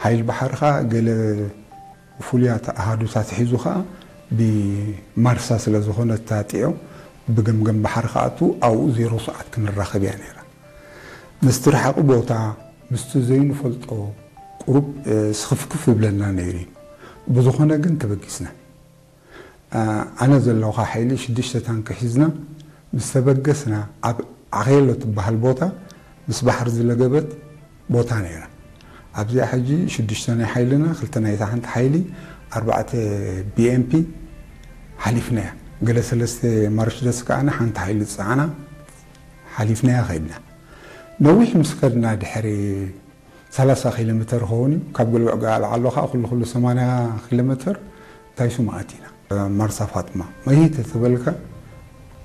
ሓይሊ ባሕሪ ኸዓ ገለ ፍሉያት ኣሃዱታት ሒዙ ኸዓ ብማርሳ ስለ ዝኾነ እታ ጢዖ ብገምገም ባሕሪ ክኣቱ ኣብኡ ዜሮ ሰዓት ክንራኸብ እያ ነይራ። ምስቲ ረሓቂ ቦታ ምስቲ ዘይንፈልጦ ቁሩብ ስኽፍክፍ ይብለና ነይሩ እዩ። ብዝኾነ ግን ተበጊስና። ኣነ ዘለኹ ሓይሊ ሽዱሽተ ታንኪ ሒዝና ምስ ተበገስና ኣብ ዓኼሎ ትበሃል ቦታ ምስ ባሕሪ ዝለገበት ቦታ ነይራ። ኣብዚኣ ሕጂ ሽዱሽተ ናይ ሓይልና ክልተ ናይታ ሓንቲ ሓይሊ ኣርባዕተ ቢኤምፒ ሓሊፍናያ። ገለ ሰለስተ ማርሽደስ ከዓና ሓንቲ ሓይሊ ዝፀዓና ሓሊፍናያ ከይድና። ነዊሕ ምስ ከድና ድሕሪ ሰላሳ ኪሎ ሜተር ኸውን እዩ። ካብ ገልብዕ ጋል ዓሎ ከዓ ኩሉ ኩሉ ሰማንያ ኪሎ ሜተር እንታይ ስሙ ኣቲና ማርሳ ፋጥማ መይት ተበልካ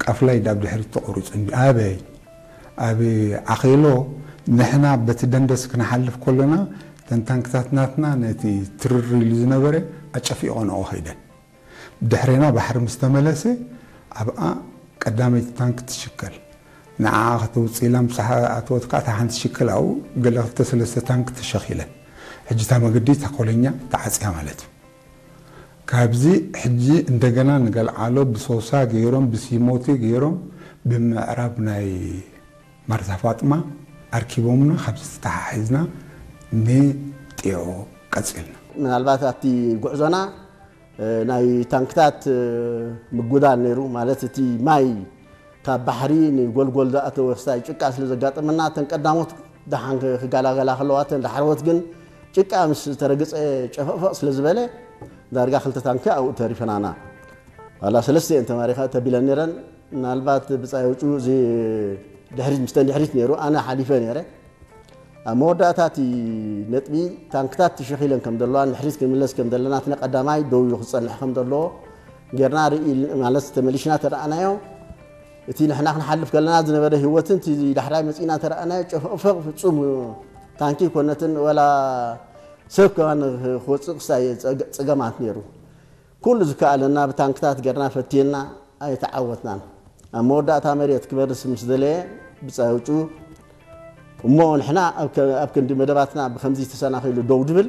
ቃፍላይ ዳብ ድሕሪት ተቆሪፁ እንዲ ኣበይ ኣብ ዓኼሎ ንሕና በቲ ደንደስ ክንሓልፍ ከለና ተን ታንክታት ናትና ነቲ ትርር ኢሉ ዝነበረ ኣጨፊቆንኦ ኸይደን። ብድሕሬና ባሕሪ ምስ ተመለሰ ኣብኣ ቀዳመይቲ ታንክ ትሽከል። ንዓ ከተውፅኢላ ምሳሓ ኣተወት ከዓ እታ ሓንቲ ሽከል ኣብኡ ገለ ክልተ ሰለስተ ታንክ ተሸኺለን። ሕጂ እታ መገዲ እታ ኮለኛ ተዓፅያ ማለት እዩ። ካብዚ ሕጂ እንደገና ንገልዓሎ ብሶሳ ገይሮም ብሲሞቲ ገይሮም ብምዕራብ ናይ ማርሳ ፋጥማ ኣርኪቦምና ካብዚ ተተሓሒዝና ንጢዖ ቀፂልና። ምናልባት ኣብቲ ጉዕዞና ናይ ታንክታት ምጉዳል ነይሩ። ማለት እቲ ማይ ካብ ባሕሪ ንጎልጎል ዝኣተወ ክሳይ ጭቃ ስለ ዘጋጠመና እተን ቀዳሞት ደሓን ክጋላገላ ከለዋ እተን ዳሕረዎት ግን ጭቃ ምስ ተረግፀ ጨፈቕፈቕ ስለ ዝበለ ዳርጋ ክልተ ታንኪ ኣብኡ ተሪፈናና። ዋላ ሰለስተ እየን ተማሪኻ ተቢለን ነይረን። ምናልባት ብፃይ ውጩ እዚ ድሕሪት ምስተን ድሕሪት ነይሩ ኣነ ሓሊፈ ነይረ። ኣብ መወዳእታ እቲ ነጥቢ ታንክታት ተሸኺለን ከም ዘለዋ ንድሕሪት ክንምለስ ከም ዘለና እቲ ነቀዳማይ ደው ኢሉ ክፀንሕ ከም ዘለዎ ጌርና ርኢ ማለት ተመሊሽና ተረኣናዮ። እቲ ንሕና ክንሓልፍ ከለና ዝነበረ ህይወትን እቲ ዳሕራይ መፂና ተረኣናዮ ጨፈቕፈቕ ፍፁም ታንኪ ኮነትን ወላ ሰብ ከማን ክወፅእ ክሳይ ፀገማት ነይሩ። ኩሉ ዝከኣለና ብታንክታት ጌርና ፈቲና ኣይተዓወትናን። ኣብ መወዳእታ መሬት ክበርስ ምስ ደለየ ብፃይ ውጩ እሞ ንሕና ኣብ ክንዲ መደባትና ብከምዚ ተሰናኺሉ ደው ድብል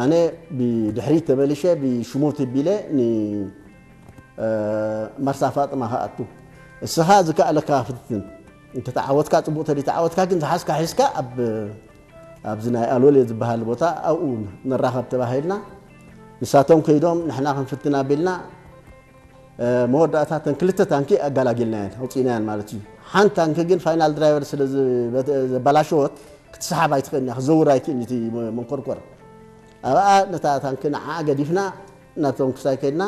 ኣነ ብድሕሪት ተመሊሸ ብሽሞት ቢለ ንመርሳ ፋጥማ ክኣቱ እስኻ ዝከኣለካ ፍትን እንተተዓወትካ ፅቡቅ ተደይተዓወትካ ግን ዝሓዝካ ሒዝካ ኣብ ኣብዚ ናይ ኣሎሌ ዝበሃል ቦታ ኣብኡ ንራኸብ ተባሂልና ንሳቶም ከይዶም ንሕና ክንፍትን ኣቢልና መወዳእታ ተን ክልተ ታንኪ ኣጋላጊልናየን ኣውፂእናየን ማለት እዩ። ሓንቲ ታንኪ ግን ፋይናል ድራይቨር ስለ ዘባላሸወት ክትሰሓብ ኣይትኽእልን እያ፣ ክዘውር ኣይክእልን እቲ መንኮርኮር። ኣብኣ ነታ ታንኪ ንዓኣ ገዲፍና ናብቶም ክሳይ ከይድና